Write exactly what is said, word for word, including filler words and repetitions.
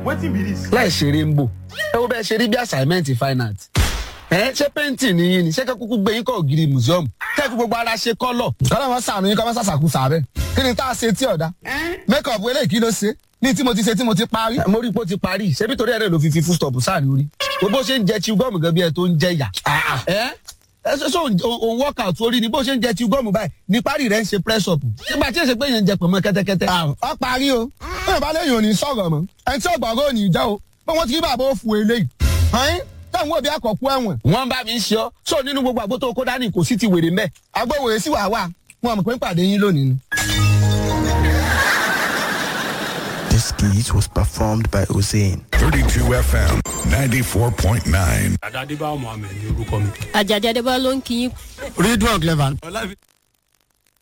Wetin be this? Láì ṣeré ń bò. Ẹ wo bẹ́ẹ̀ ṣe rí bí assignment fine art. Ẹ ṣé painting ni yín ni ṣé kẹ́ kúkú gbé yín kọ́ ògiri museum. Kẹ́ fi gbogbo ara ṣe kọ́lọ̀. Kọ́lá wọn sàánú yín kọ́ mọ́ sàṣàkú sàárẹ̀. Kí ni tá a ṣe tí ọ̀dà? Make up eléyìí kí ló ṣe? Ní tí mo ti ṣe tí mo ti parí. Mo rí i pé ó ti parí. Ṣebí torí ẹ̀rẹ́ ló fi fi full stop sáàrin orí. Bó ṣe ń jẹ chew gum gan bí ẹ tó ń jẹ yà. Ẹ ẹ ṣe ṣe òun workout orí ni bó ṣe ń jẹ chew gum báyìí ní parí rẹ̀ ń ṣe press up. Nígbà tí èsè pé yẹn ń jẹ pọ̀nmọ́ kẹ́tẹ́kẹ́tẹ́. Ọ parí o. Bẹ́ẹ̀ bá léyìn òní sọ̀rọ̀ mọ́. Ẹni tí ọ̀gbọ̀n ò ní jẹ́ o. Pé wọ́n ti rí bàbá òfu eléyìí. Ẹ̀yin táwọn òbí àkọ́kú ẹ̀wọ̀n. Wọ́n bá mi ń ṣe ọ́. Sọ nínú gbogbo àgbo tó kó dání kò sí ti wèrè mẹ́. Agbóhùn èsì wà wà. Wọn mọ̀ pé ń pàdé yín lónìí ni. This skit was performed by Hussein. thirty-two F M ninety-four point nine. Dada Adébáyọ̀ Mohammed ní orúkọ mi. Àjàdí Adébáyọ̀ ló ń kí yín. Ridwan Clever.